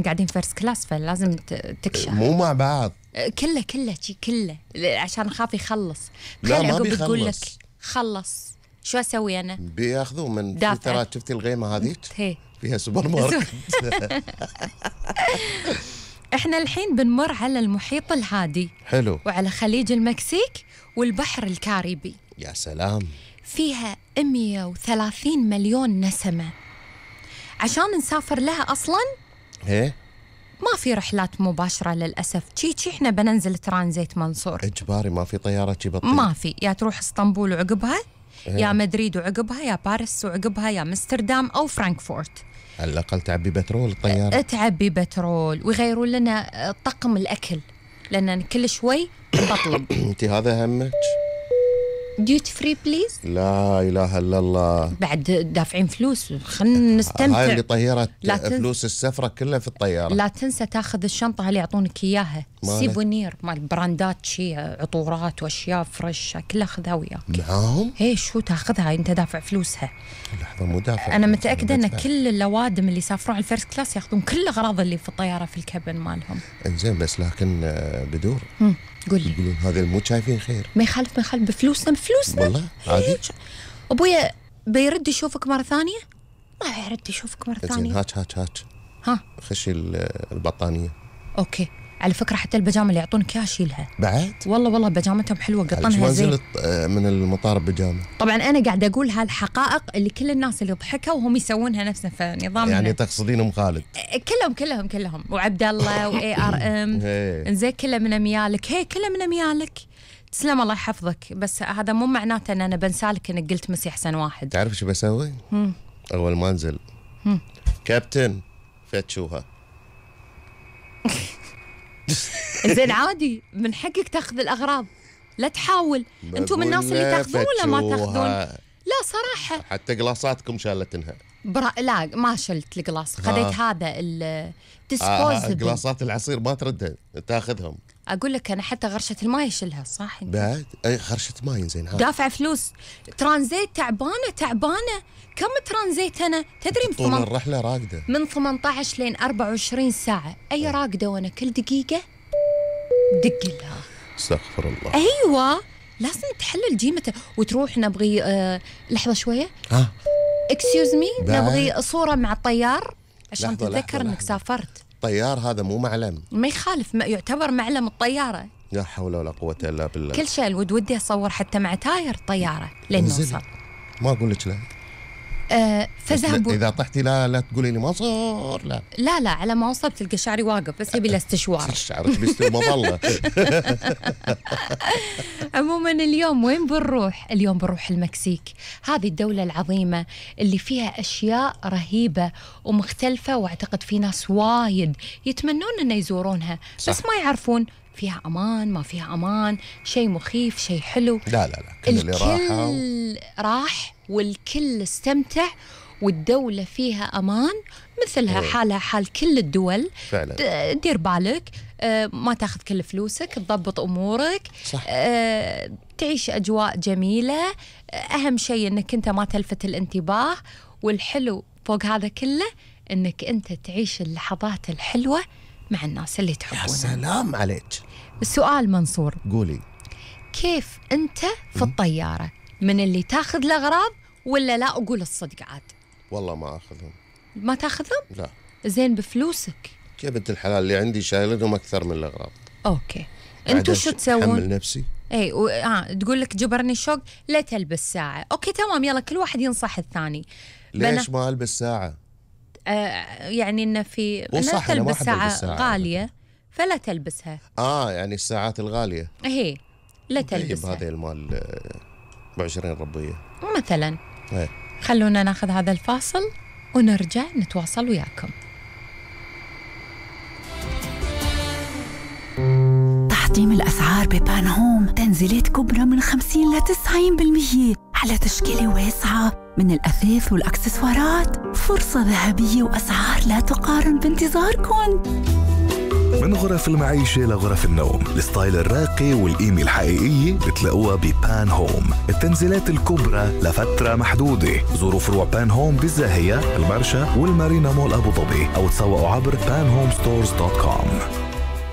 قاعدين فيرست كلاس فلازم تكشف. مو مع بعض كله عشان أخاف يخلص. لا ما بتقول لك بيخلص. خلص شو أسوي أنا؟ بياخذوه من دافع. ترى شفتي الغيمة هذه هي فيها سوبر ماركت. احنا الحين بنمر على المحيط الهادي. حلو. وعلى خليج المكسيك والبحر الكاريبي. يا سلام. فيها 130 مليون نسمة. عشان نسافر لها أصلاً ايه ما في رحلات مباشرة للأسف. تشي احنا بننزل ترانزيت منصور اجباري، ما في طيارة تجيب الطير. ما في، يا تروح اسطنبول وعقبها يا مدريد وعقبها يا باريس وعقبها يا امستردام أو فرانكفورت. على الأقل تعبي بترول الطيارة. تعبي بترول ويغيروا لنا طقم الأكل لأن كل شوي بطلب. انت هذا همك؟ ديوتي فري بليز. لا إله إلا الله. بعد دافعين فلوس خلنا نستمتع. هاي اللي طيرت فلوس السفرة كلها في الطيارة. لا تنسى تاخذ الشنطة اللي يعطونك إياها سيفونير مال براندات شي عطورات وأشياء فرش كلها خذها وياك معاهم. هي شو تاخذها انت دافع فلوسها. لحظة مو دافع. أنا متأكدة أن كل اللوادم اللي يسافرون على الفيرست كلاس ياخذون كل الأغراض اللي في الطيارة في الكابن مالهم. انزين بس لكن بدور قول لي. يقولون هذا مو شايفين خير. ما يخالف بفلوسنا والله عادي. أبويا بيرد يشوفك مرة ثانية؟ ما يرد يشوفك مرة ثانية. هات ها خشي البطانية. أوكي. على فكرة حتى البيجامة اللي يعطونك إياها شيلها بعد. والله بيجامتهم حلوة قطنها زين. ما نزلت من المطار بيجامة. طبعا أنا قاعدة أقول هالحقائق اللي كل الناس اللي ضحكوا وهم يسوونها نفسها في نظام. يعني تقصدين أم خالد؟ كلهم وعبد الله وARM. إنزين كله من أميالك. هي كله من أميالك. تسلم الله يحفظك. بس هذا مو معناته أن أنا بنسالك إنك قلت مسي أحسن واحد. تعرف شو بسوي؟ أول ما أنزل كابتن فتشوها. زين عادي من حقك تاخذ الأغراض لا تحاول. أنتم من الناس اللي تاخذون ولا ما تاخذون؟ لا صراحة حتى قلاصاتكم شالتنها. لا ما شلت القلاص. خذيت هذا الديسبوزبل. قلاصات العصير ما تردها تاخذهم. أقول لك أنا حتى غرشة الماء يشيلها صح. بعد أي غرشة ماء زين دافع فلوس. ترانزيت تعبانة. كم ترانزيت أنا تدري طول الرحلة راقدة من 18 لين 24 ساعة. أي راقدة وأنا كل دقيقة دق لها. استغفر الله. أيوة لازم تحلل جيمته وتروح نبغي لحظة شوية. اكسيوز مي نبغي صورة مع الطيار عشان تتذكر انك سافرت. الطيار هذا مو معلم. ما يخالف يعتبر معلم الطيارة. لا حول ولا قوة الا بالله. كل شيء ودي اصور حتى مع تاير الطيارة لين نوصل. ما اقول لك لا. فذهبوا. اذا طحتي لا تقولي لي ما صار. لا على ما وصلت تلقى شعري واقف بس يبي له استشوار. شعرك بيستوي مظلة. عموما اليوم وين بنروح؟ اليوم بنروح المكسيك. هذه الدولة العظيمة اللي فيها أشياء رهيبة ومختلفة واعتقد في ناس وايد يتمنون أن يزورونها صح. بس ما يعرفون فيها أمان ما فيها أمان، شيء مخيف شيء حلو. لا كل اللي راح والكل استمتع والدولة فيها أمان مثلها حالها حال كل الدول فعلا. دير بالك ما تاخذ كل فلوسك، تضبط أمورك صح. تعيش أجواء جميلة. أهم شيء أنك أنت ما تلفت الانتباه، والحلو فوق هذا كله أنك أنت تعيش اللحظات الحلوة مع الناس اللي تحبونها. يا سلام عليك. السؤال منصور قولي كيف أنت في الطيارة من اللي تاخذ الأغراض ولا لا؟ أقول الصدق عاد. والله ما أخذهم. ما تاخذهم؟ لا. زين بفلوسك. يا بنت الحلال اللي عندي شايلهم أكثر من الأغراض. أوكي. أنتوا شو تسوون؟ أحمل نفسي. اي تقول لك جبرني الشوق لا تلبس ساعة. اوكي تمام يلا كل واحد ينصح الثاني. ليش ما البس ساعة؟ يعني انه في لا تلبس ساعة غالية فلا تلبسها. يعني الساعات الغالية هي لا تلبسها. هذا المال ب20 ربية مثلا. خلونا ناخذ هذا الفاصل ونرجع نتواصل وياكم. تحطيم الأسعار ببان هوم، تنزيلات كبرى من 50 ل 90% على تشكيلة واسعة من الأثاث والأكسسوارات. فرصة ذهبية وأسعار لا تقارن بانتظاركم. من غرف المعيشة لغرف النوم، الستايل الراقي والقيمة الحقيقية بتلاقوها ببان هوم. التنزيلات الكبرى لفترة محدودة. زوروا فروع بان هوم بالزاهية، المرشا والمارينا مول أبو ظبي، أو تسوقوا عبر panhomestores.com.